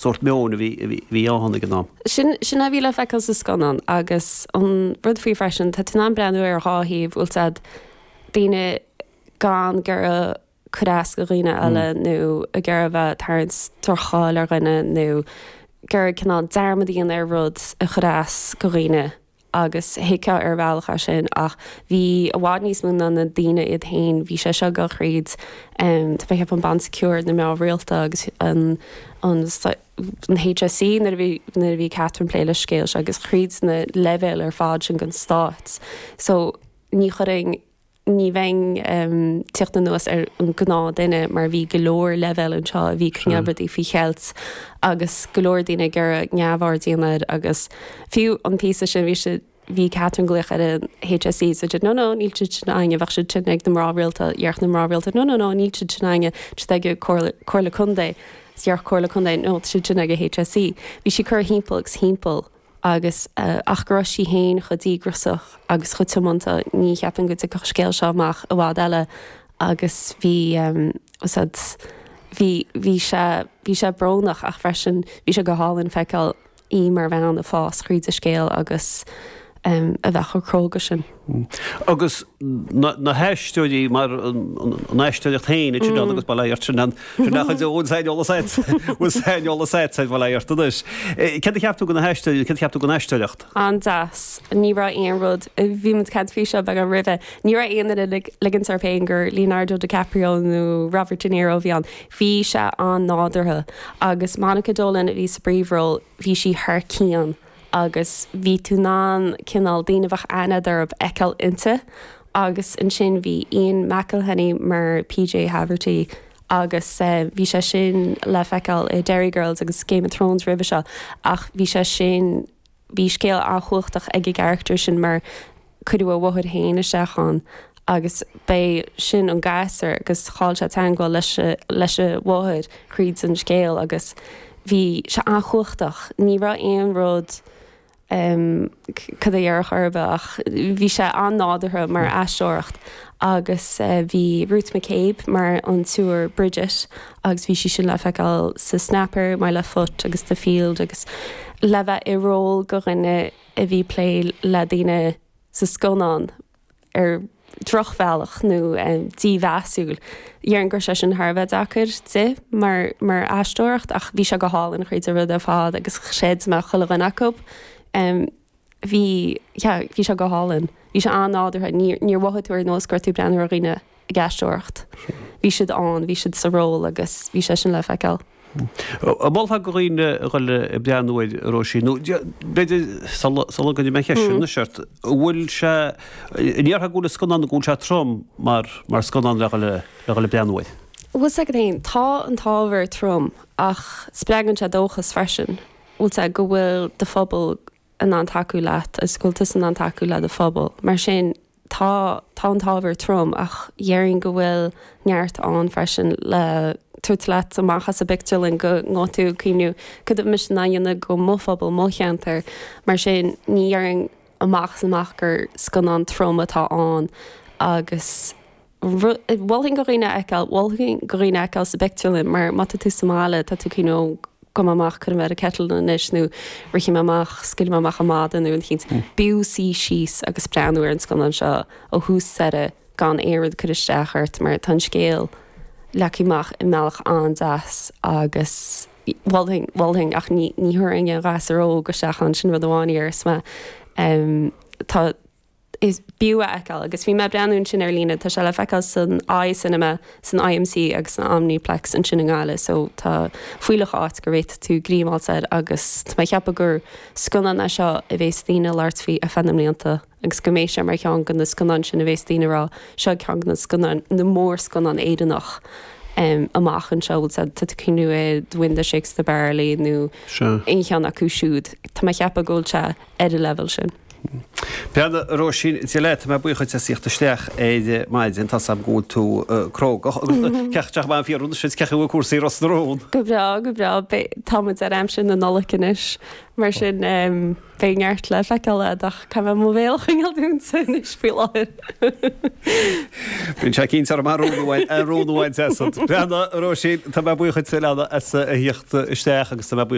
Sórt meoin a bhí ann ag an am. Sin sin a bhí le feiceáil sa scannán agus an rud faoi freisin, tá tú in ann breathnú ar dhá thaobh, bhfuil 's a'd, daoine gan ag iarraidh cur as do dhaoine eile nó ag iarraidh bheith ag tarraingt droch-cháil ar dhuine nó ag iarraidh cineál dearmad a dhéanamh ar rud a chuir as do dhaoine. agus thuigfeá ar bhealach é sin ach bhí i bhfad níos mó ná na daoine iad féin, bhí sé seo ag dul thríd tá mé ag ceapadh an Bon Secours, na mná rialta agus an an an HSE nuair a bhí nuair a bhí Catherine ag plé leis an scéal seo agus thríd na leibhéil ar fad sin den stát so ní chuirfinn Ní bheinn ag tíocht anuas ar an gnáth duine mar bhí go leor leibhéal anseo a bhí ag coinneáil rudaí faoi cheilt agus go leor daoine ag iarraidh neamhaird a dhéanamh air agus fiú an píosa sin bhí siad bhí Catherine ag glaoch ar an HSE so dúirt no no níl siad sin againne bheadh siad sin ag na mná rialta dhéarfadh na mná rialta no no no níl siad sin againne tá siad ag comhairle comhairle contae déarfadh comhairle contae no tá siad sin ag an HSE bhí sí curtha thimpeall agus thimpeall agus ach go raibh sí féin chomh díograiseach agus chomh tiomanta, ní cheapaim go dtiocfadh an scéal seo amach i bhfad eile agus bhí, bhfuil 's a'd, bhí, bhí sé, bhí sé brónach ach freisin bhí sé go hálainn feiceáil í mar bhean ag fás thríd an scéal agus a bheith chomh cróga sin. Agus na haisteoirí mar an aisteoireacht féin ansin agus bail ó Dhia ort sin an sin nach cuid bhfuil saineolas agat bhfuil saineolas agat ar bail ó Dhia ort anois. Céard a cheap tú de na haisteoirí, céard a cheap tú den aisteoireacht? An-deas. Ní raibh aon rud, bhí muid ag caint faoi seo beagán roimhe, ní raibh aon duine ag ligint orthu féin gur Leonardo DiCaprio nó Robert De Niro a bhí ann. Bhí sé an-nádúrtha agus Monica Dolan a bhí sa bpríomhról, bhí sí thar cionn. agus bhí tú in ann cineál daoine a bheadh aithne agat orthu a fheiceáil inti agus ansin bhí Ian McElhinney mar PJ Haverty agus bhí sé sin le feiceáil i Derry Girls agus Game of Thrones roimhe seo ach bhí sé sin, bhí scéal an-chumhachtach ag an gcarachtar sin mar cuireadh a mháthair féin isteach ann agus b'é sin an gasúr agus chaill sé teangmháil leis leis a mháthair thríd an scéal agus bhí sé an-chumhachtach. Ní raibh aon rud cad a déarfá ar bith ach bhí sé an-nádúrtha mar aisteoireacht agus bhí Ruth McCabe mar an tSiúr Bridget agus bhí sí sin le feiceáil sa Snapper, My Left Foot agus The Field agus le bheith i ról go dhuine a bhí ag plé le daoine sa scannán ar dhrochbhealach nó dímheasúil. Déarfainn go raibh sé sin thar a bheith deacair di mar mar aisteoireacht ach bhí sé go hálainn thríd an rud ar fad agus chreid mé chuile dhuine acu. Bhí, yeah, bhí sé go hálainn. Bhí sé an-nádúrtha. Níor mhothaigh tú ar nós go raibh tú ag breathnú ar dhaoine ag aisteoireacht. Bhí siad ann, bhí siad sa ról agus bhí sé sin le feiceáil. An molfá do dhaoine a dhul ag breathnú air, a Róisín, nó b'fhéidir sula gcuirfidh mé an cheist sin anois ort, an bhfuil sé, an ndéarfá go bhfuil an scannán, go bhfuil sé trom mar mar scannán le dhul le dhul ag breathnú air? Bhfuil 's agat féin, tá an t-ábhar trom ach spreagann sé dóchas freisin, bhfuil 's agat, go bhfuil do phobal in ann tacú leat agus go bhfuil tusa in ann tacú le do phobal. Mar sin, Tá, tá an t-ábhar trom ach dhéarfainn go bhfuil neart ann freisin le tabhairt leat amach as an bpictiúrlann go ngabhfaidh tú ag cuimhniú cad atá mise in ann a dhéanamh go mo phobal, mo cheantar. Mar sin ní dhéarfainn amach is amach gur scannán trom atá ann agus mholfainn go dhaoine a fheiceáil, mholfainn go dhaoine a fheiceáil sa bpictiúrlann mar má tá tú sa mbaile tá tú ag cuimhniú gabhfaidh mé amach, cuirfidh mé ar an kettle anois nó rithfidh mé amach, scaoilfidh mé amach an madadh nó rud eicínt. B'fhiú suí síos agus breathnú ar an scannán seo ó thús deireadh gan aon rud cur isteach ort mar tá an scéal leagtha amach i mbealach an-deas agus mholfainn, mholfainn ach ní, ní thabharfainn aon ghasúr óg isteach ann, sin rud amháin a déarfas mé. Tá. Is b'fhiú a fheiceáil agus bhí mé ag breathnú ansin ar líne, tá sé le feiceáil san i Cinema, san IMC agus san Omniplex ansin i nGaillimh so tá fuílleach áit go bhféadfaidh tú greim a fháilt air agus tá mé ag ceapadh gur scannán é seo a bhéas daoine ag labhairt faoi ar feadh na mblianta agus go mbeidh sé mar cheann de na scannáin sin a bhéas daoine ag rá seo ceann de na scannáin, na mórscannáin Éireannach amach anseo, bhfuil tá tú ag cuimhniú ar The Wind That Shakes the Barley nó aon cheann acu siúd. Tá mé ag ceapadh go bhfuil sé ar an leibhéal sin. Breathnaigh, a Róisín, Dia leat, tá mé buíoch duit as theacht isteach ar maidin, tá's a'm go bhfuil tú crógach agus cén chaoi an fíor anois, cén chaoi a bhfuil cúrsaí i Ros na Rún? Go breá, go breá, tá muid ar aimsir na Nollag anois, mar sin beidh neart le feiceáil a'd ach caithfidh mé mo bhéal a choinneáil dúnta anois faoi láthair. Bíonn sé cinnte orm an rún amháin, an rún amháin deas. Breathnaigh, a Róisín, tá mé buíoch duit a leana as a theacht isteach agus tá mé buíoch.